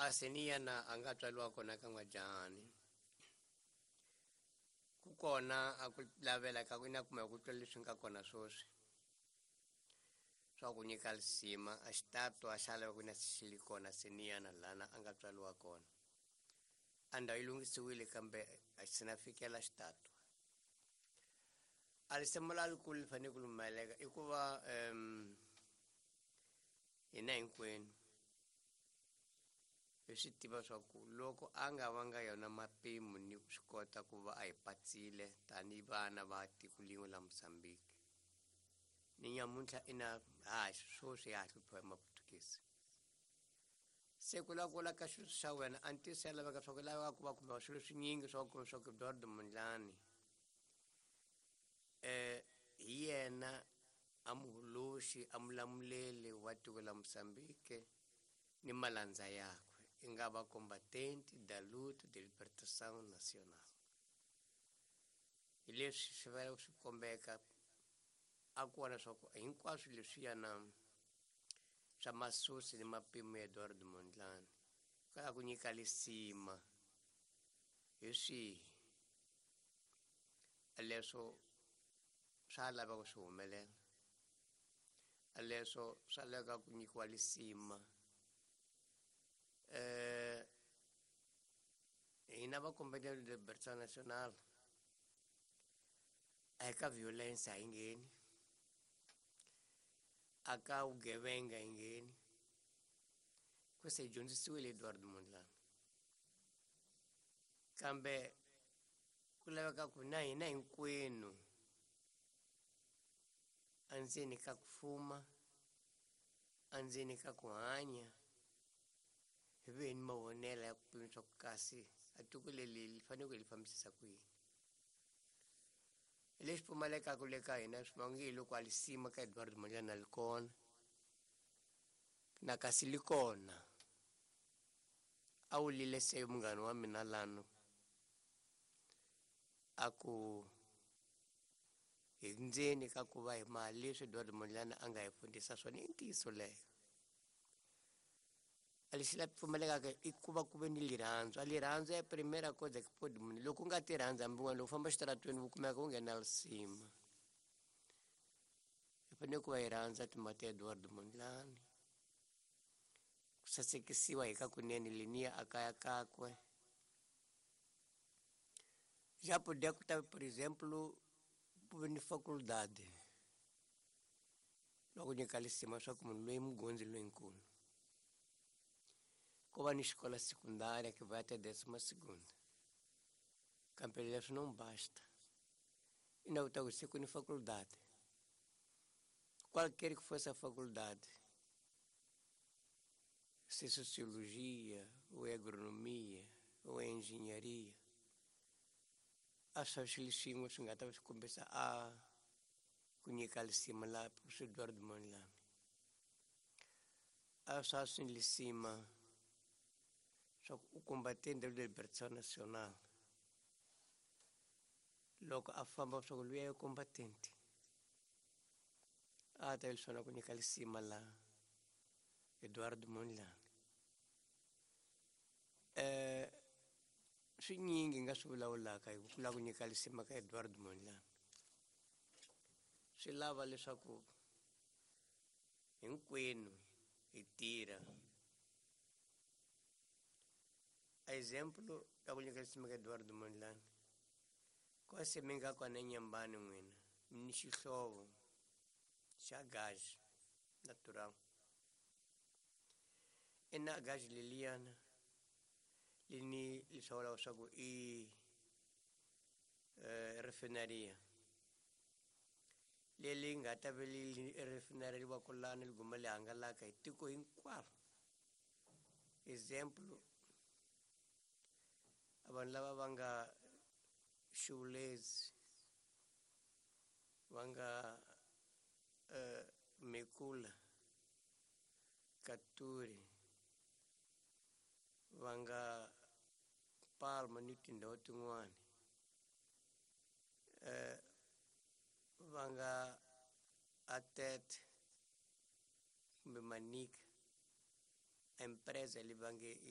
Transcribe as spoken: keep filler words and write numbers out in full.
A Seniyana a nga tswariwa kona ka N'wajahani. Ku kona a ku lavela ka ku ina kumbe ku twa leswi nga kona sweswi swa ku nyika lisima a xitato a xa lava ku na xi li kona Seniyana lana a nga tswariwa kona. A ndhawu yi lunghisiwile kambe a xi na fikela xitato. A lisimo la likulu li fanele ku lumeleka i ku va um hina hinkwenu hi swi tiva swa ku loko a nga vanga yona mapimo ni ku swi kota ku va a hi patsile tanihi vana va tiko lin'we la Mozambique. Ni nyamuntlha ina ha sweswi ya ha hluphiwa hi Maputukisi. Se ku lava ku vula ka xilo xa wena a ntiyiso ya laveka swa ku laveka ku va kumbe swilo swinyingi swa ku swa ku Eduardo Mondlane eh hi yena a muholoxi a mulamuleli wa tiko la Mozambique ni malandza yakwe i nga va combatente da luta de libertação nacional. Hi leswi swi va swi kombeka a ku vona swa ku hinkwaswo leswiyana swa masusi ni mapimo ya Eduardo Mondlane ka ku nyika lisima hi swihi leswo swa lava ku swi humelela leswo swa laveka ku nyikiwa lisima. Eh hina va combatente de libertação nacional a hi ka violence a hi ngheni, a ka vugevenga hi ngheni, ku se hi dyondzisiwile Eduardo Mondlane. Kambe ku laveka ku na hina hinkwenu andzeni ka ku fuma, andzeni ka ku hanya, hi ve ni mavonelo ya ku pima swa ku kasi a tiko leri li fanele ku hi li fambisisa ku yini. Lexi pfumalekaka le ka hina swi vange hi loko a lisima ka Eduardo Mondlane a li kona na kasi li kona a wu lile se munghana wa mina lano a ku hi ndzeni ka ku va hi mali leswi Eduardo Mondlane a nga hi fundisa swona i ntiyiso leyo. A lexi la pfumalekaka i ku va ku ve ni lirhandzu. A lirhandzu ya primera cosa que pode munhu loko u nga ti rhandzi hambi wena loko u famba xitaratweni u kumeka u nghena lisima. Hi fanele ku va hi rhandza timhaka ta Eduardo Mondlane, ku sasekisiwa hi ka kunene leniya a kaya kakwe. Já podia ku ta, por exemplo, ku ve ni faculdade loko nyika lisima swa ku munhu loyi mugondzi loyinkulu ko va ni xikola secundária que vai até décima segunda. Kambe leswi não basta. E na outra coisa, ni faculdade. Qualquer que fosse a faculdade, se sociologia, ou é agronomia, ou é engenharia, a swa swilo swin'we swi nga ta swi kombisa a ku nyika lisima la professor Eduardo Mondlane. A swa swi lisima swa ku u combatente de libertação nacional. Loko a famba swa ku luya ya combatente a ta swona ku nyika lisima la Eduardo Mondlane. Eh swinyingi nga swi vulavulaka hi ku lava ku nyika lisima ka Eduardo Mondlane. Swi lava leswaku hinkwenu hi tirha. A exemplo ya ku nyika lisima ka Eduardo Mondlane, kwase mi nga kona eNyembani n'wina mi ni xihlovo xa gasi natural. Ina gasi leliyana lini li swi vulaka swa ku i refineria leri nga ta ve li refinery lani li guma li hangalaka hi tiko hinkwaro. Example, vanhu lava va nga Xivulezi, va nga uh, Mekula, Katuri, va nga Palma ni tindhawu tin'wani, eh va nga Atete kumbe Manica, a empresa leyi va nge